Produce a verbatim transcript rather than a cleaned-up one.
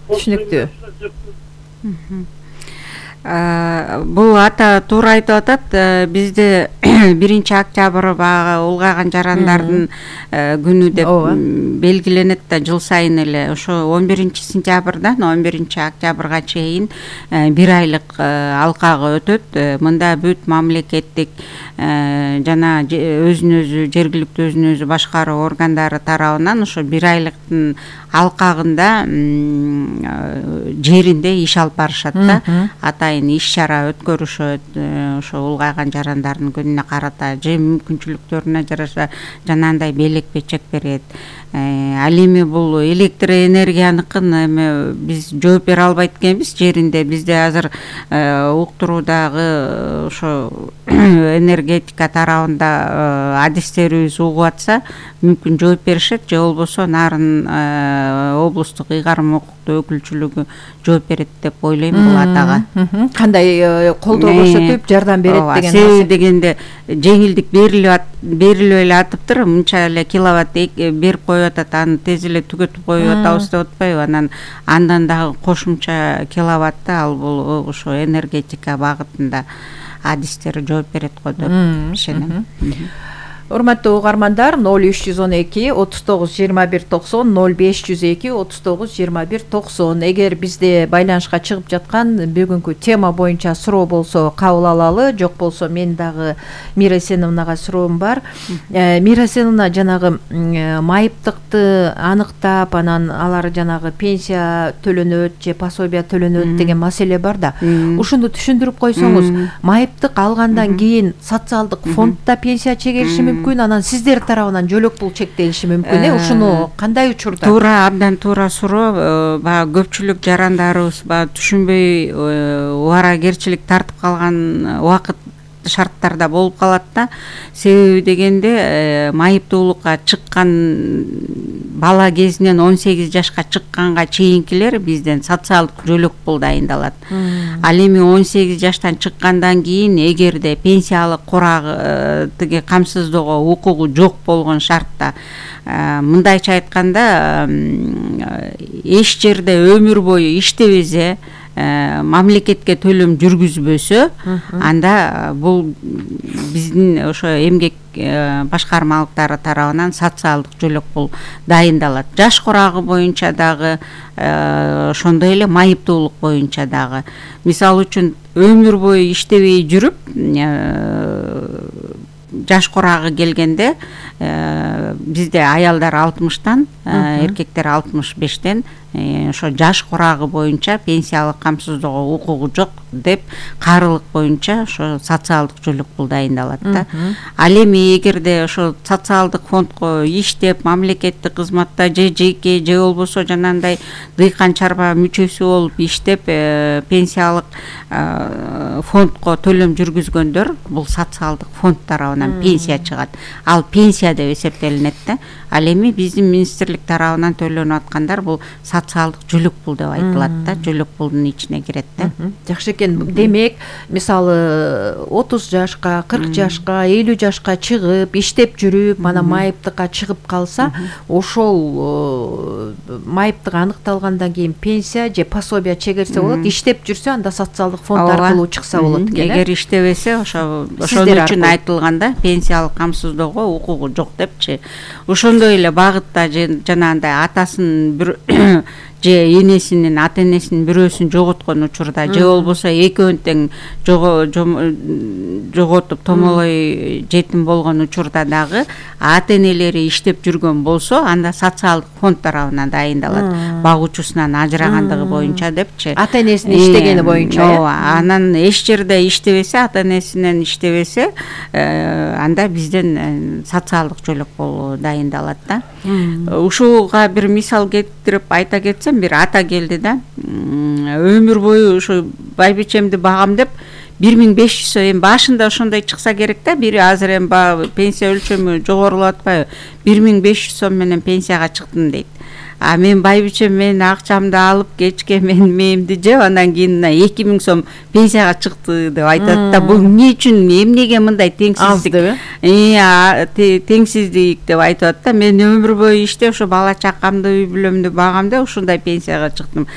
Түшүнүктүү. Бул ата туура айтып атат. Бизде биринчи октябрь баягы улгайган жарандардын күнү деп белгиленет да, жыл сайын эле ошо он биринчи сентябрдан он биринчи октябрга чейин бир айлык алкагы өтөт. Мында бүт мамлекеттик жана өзүн өзү жергиликтүү өзүн өзү башкаруу органдары тарабынан ошо бир айлыктын алкагында жеринде иш алып барышат да. Атайын иш чара өткөрүшөт. Ошо улгайган жарандардын күнүнө карата же мүмкүнчүлүктөрүнө жараша жанагындай белек печек берет. Ал эми бул электр энергияныкын эми биз жооп бере албайт экенбиз жеринде. Бизде азыр уктуруудагы ошо энергетика тарабында адистерибиз угуп атса мүмкүн жооп беришет, же болбосо нарын облустук ыйгарым укуктуу өкүлчүлүгү жооп берет деп ойлойм бул атага. Кандай колдоо көрсөтүп жардам берет деген. Себеби дегенде жеңилдик берилип берилип эле атыптыр. Мынча эле киловатт берип коюп атат, аны тез эле түгөтүп коюп атабыз деп атпайбы? Анан андан дагы кошумча киловатты ал бул ошо энергетика багытында адистер жооп берет го деп ишенем. Урматтуу угармандар, ноль үч жүз он эки отуз тогуз жыйырма бир токсон, ноль беш жүз эки отуз тогуз жыйырма бир токсон. Эгер бизде байланышка чыгып жаткан бүгүнкү тема боюнча суроо болсо кабыл алалы, жок болсо мен дагы Мира Эсеновнага суроом бар. Мира Эсеновна жанагы майыптыкты аныктап, анан алар жанагы пенсия төлөнөт же пособия төлөнөт деген маселе бар да. Ушуну түшүндүрүп койсоңуз, майыптык алгандан кийин социалдык фондда пенсия чегериши мүмкүн, анан сиздер тарабынан жөлөк пул чектелиши мүмкүн э? Ушуну кандай учурда? Туура, абдан туура суроо. Баягы көпчүлүк жарандарыбыз баягы түшүнбөй убаракерчилик тартып калган убакыт шарттарда болуп калат да. Себеби дегенде майыптуулукка чыккан бала кезинен он сегиз жашка чыкканга чейинкилер бизден социалдык жөлөк пул дайындалат. Ал эми он сегиз жаштан чыккандан кийин эгерде пенсиялык курагы тиги камсыздоого укугу жок болгон шартта, мындайча айтканда, эч жерде өмүр бою иштебесе, мамлекетке төлөм жүргүзбөсө, анда бул биздин ошо эмгек башкармалыктары тарабынан социалдык жөлөк пул дайындалат. Жаш курагы боюнча дагы, ошондой эле майыптуулук боюнча дагы. Мисалы үчүн өмүр бою иштебей жүрүп, жаш курагы келгенде бизде аялдар алтымыштан, эркектер алтымыш бештен ошо жаш курагы боюнча пенсиялык камсыздоого укугу жок деп карылык боюнча ошо социалдык жөлөк пул дайындалат да. Ал эми эгерде ошо социалдык фондко иштеп, мамлекеттик кызматта же жеке же болбосо жанагындай дыйкан чарба мүчөсү болуп иштеп, пенсиялык фондко төлөм жүргүзгөндөр, бул социалдык фонд тарабынан пенсия чыгат. Ал пенсия деп эсептелинет да. Ал эми биздин министрлик тарабынан төлөнүп аткандар бул социалдык жөлөк пул деп айтылат да. Жөлөк пулдун ичине кирет да. Жакшы экен. Демек, мисалы отуз жашка, кырк жашка, элүү жашка чыгып, иштеп жүрүп, анан майыптыкка чыгып калса, ошол майыптык аныкталгандан кийин пенсия же пособия чегерсе болот. Иштеп жүрсө, анда социалдык фонд аркылуу чыкса болот экен. Эгер иштебесе, ошо ошон үчүн айтылганда пенсиялык камсыздоого укугу жок депчи. Ошондой эле багытта жанагындай атасын бир же энесинин, ата энесинин бирөөсүн жоготкон учурда, же болбосо экөөнү тең жоготуп томолой жетим болгон учурда дагы ата энелери иштеп жүргөн болсо, анда социалдык фонд тарабынан дайындалат. Багуучусунан ажырагандыгы боюнча депчи. Ата энесинин иштегени боюнча. Ооба, анан эч жерде иштебесе, ата энесинен иштебесе, анда бизден социалдык жөлөк пул дайындалат да. Ушуга бир мисал келтирип айта кетсем, бир ата келди да, өмүр бою ушу байбичемди багам деп бир миң беш жүз сом, эми башында ошондой чыкса керек да, бир азыр эми пенсия өлчөмү жогорулап атпайбы, бир миң беш жүз сом менен пенсияга чыктым дейт. А мен байбичем менин акчамды алып кечке мен мээмди жеп, андан кийин эки миң сом пенсияга чыкты деп айтат да. Бул эмне үчүн, эмнеге мындай теңсиздик? Теңсиздик деп айтып атат да. Мен өмүр бою иштеп, ошо бала чакамды, үй бүлөмдү багам деп ушундай пенсияга чыктым.